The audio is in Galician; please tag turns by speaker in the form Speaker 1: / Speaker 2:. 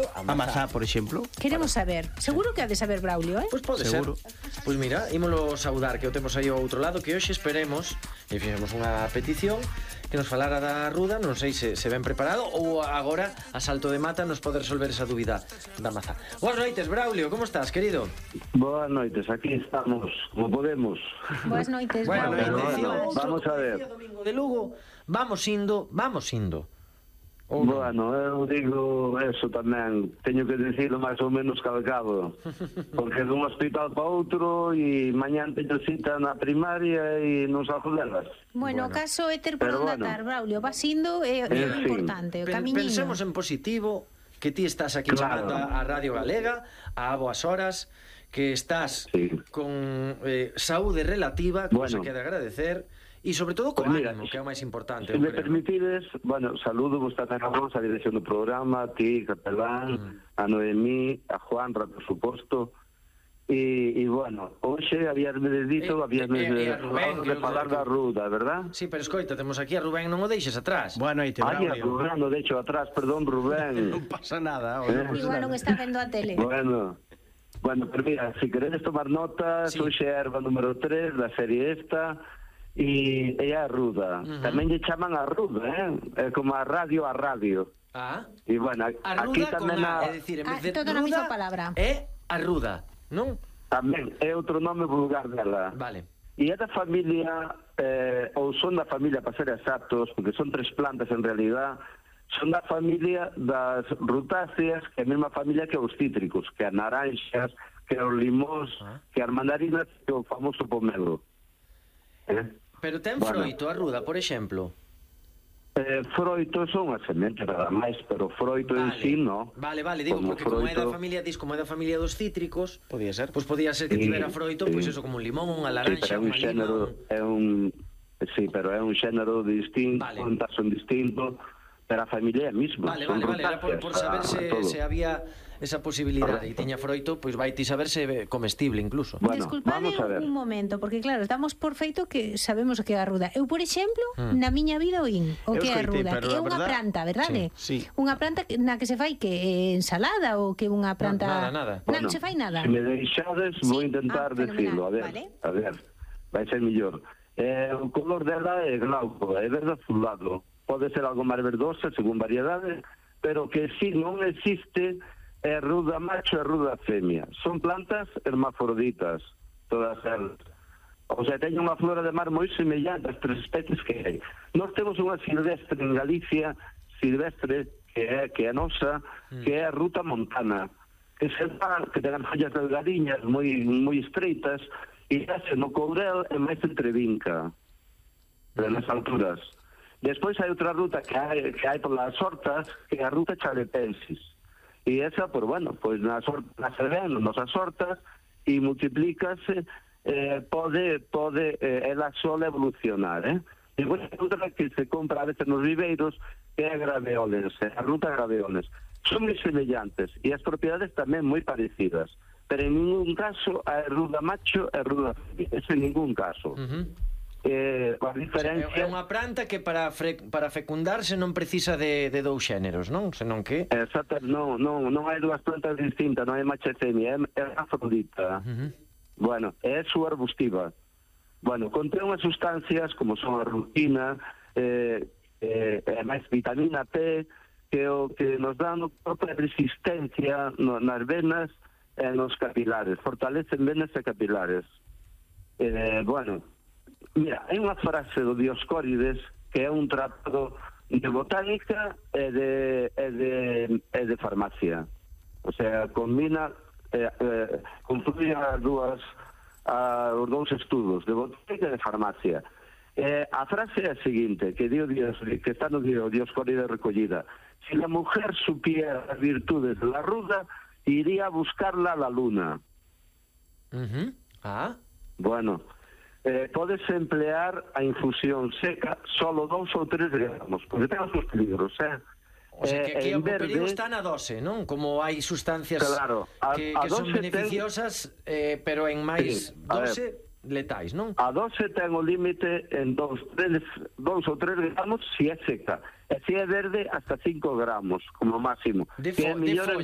Speaker 1: exemplo, a mazá,
Speaker 2: por exemplo.
Speaker 3: Queremos saber. Seguro que ha de saber Braulio,
Speaker 1: Pois pode ser. Pois mira, ímolo saudar, que o temos aí ao outro lado, que hoxe esperemos, e fixemos unha petición, que nos falara da ruda, non sei se ben preparado, ou agora, a salto de mata, nos pode resolver esa dúbida da mazá. Boas noites, Braulio, como estás, querido?
Speaker 4: Boas noites, aquí estamos, como podemos.
Speaker 3: Boas noites,
Speaker 1: Bueno,
Speaker 3: Braulio.
Speaker 4: Vamos a ver.
Speaker 1: Domingo de Lugo, vamos indo.
Speaker 4: Bueno, eu digo eso tamén, teño que dicirlo máis ou menos calcado, porque dun hospital para outro e mañán teño cita na primaria e non salgo delas.
Speaker 3: Bueno, o caso é ter por onde atar, Braulio, vas indo, é importante, o camiñiño.
Speaker 1: Pensemos en positivo, que ti estás aquí chamando a Radio Galega, a boas horas, que estás con saúde relativa, cosa que de agradecer, e sobre todo con ánimo, que é o máis importante.
Speaker 4: Se me permitides, bueno, saludo vos tamén a vos, a dirección do programa, a ti, Capelán, a Noemí, a Juanra, por suposto, e bueno, hoxe habíasme dito, habíasme de falar da ruda, verdad?
Speaker 1: Sí, pero escoita, temos aquí a Rubén, non o deixes atrás.
Speaker 2: Boa noite,
Speaker 4: Braulio. Ai, a Rubén, o deixo atrás, perdón, Rubén.
Speaker 2: Non pasa nada.
Speaker 3: Igual non está vendo a tele.
Speaker 4: Bueno, pero mira, se queredes tomar notas, hoxe é a erva número 3 da serie esta, e é a ruda. Tamén lle chaman a ruda, é como a radio. E bueno, aquí tamén
Speaker 1: é dicir, en vez de
Speaker 3: toda na mesma palabra.
Speaker 1: É a ruda, non?
Speaker 4: Tamén é outro nome vulgar dela.
Speaker 1: Vale.
Speaker 4: E é da familia, ou son da familia, para ser exactos, porque son 3 plantas en realidad, son da familia das rutáceas, que é a mesma familia que os cítricos, que as naranxas, que os limóns, que as mandarinas, que o famoso pomelo.
Speaker 1: Pero ten froito a ruda, por exemplo?
Speaker 4: Froito son as sementes nada máis, pero froito en sí, no.
Speaker 1: Vale, digo, porque como é da familia dos cítricos,
Speaker 2: podía ser
Speaker 1: que tivera froito, pois eso, como un limón, unha laranxa, unha lima.
Speaker 4: Sí, pero é un xénero distinto, un taxo distinto, pero a familia é a mesma.
Speaker 1: Vale, era por saber se había esa posibilidade, e tiña froito, pois vai ti saber se comestible incluso.
Speaker 4: Bueno,
Speaker 3: desculpade un momento, porque claro, estamos por feito que sabemos o que é a ruda. Eu, por exemplo, na miña vida oín o que é a ruda, que é unha planta, verdade?
Speaker 2: Sí.
Speaker 3: Unha planta na que se fai que ensalada ou que unha planta...
Speaker 1: Nada.
Speaker 3: Non se fai nada.
Speaker 4: Se me deixades, vou intentar decirlo, a ver, vai ser mellor. O color dela é glauco, é verde azulado. Pode ser algo máis verdosa, según variedade, pero que si non existe é ruda macho e ruda femia. Son plantas hermafroditas, todas elas. O sea, teñen unha flora de mar moi semellante ás 3 especies que hai. Nós temos unha silvestre en Galicia, que é nosa, que é a ruta montana, que ten as follas delgadiñas, moi estreitas, e hace no courel e máis entrevinca, nas alturas. Despois hai outra ruta que hai polas hortas, que é a ruta chalepensis. E esa, pois bueno, pois nas servendo nosas hortas e multiplícase, pode ela sola evolucionar, E depois hai outra que se compra a veces nos viveiros, que é a graveoles, a ruta graveoles. Son moi semellantes e as propiedades tamén moi parecidas, pero en ningún caso a ruda macho e ruda femia, en ningún caso. A diferencia...
Speaker 1: É unha planta que para fecundarse non precisa de dous xéneros, non? Senón que...
Speaker 4: Exacto, non hai dúas plantas distintas, non hai macho e femia, é afrodita. Bueno, é subarbustiva. Bueno, contén unhas sustancias como son a rutina, máis vitamina T, que o que nos dá a propia resistencia nas venas e nos capilares, fortalecen venas e capilares. Bueno, mira, hai unha frase do Dioscórides que é un tratado de botánica e de farmacia. O sea, combina, confluye os dous estudos de botánica e de farmacia. A frase é a seguinte, que está no Dioscórides recollida: si la mujer supiera las virtudes de la ruda, iría a buscarla a la luna. Bueno, podes emplear a infusión seca solo 2 ou 3 gramos, porque ten os seus peligros,
Speaker 1: O sea, que aquí o perigo está na dose, non? Como hai sustancias que son beneficiosas, pero en máis dose letais, non?
Speaker 4: A dose ten o límite en 2 ou 3 gramos se é seca, e se é verde hasta 5 gramos como máximo,
Speaker 1: de
Speaker 4: que é mellor
Speaker 1: folla,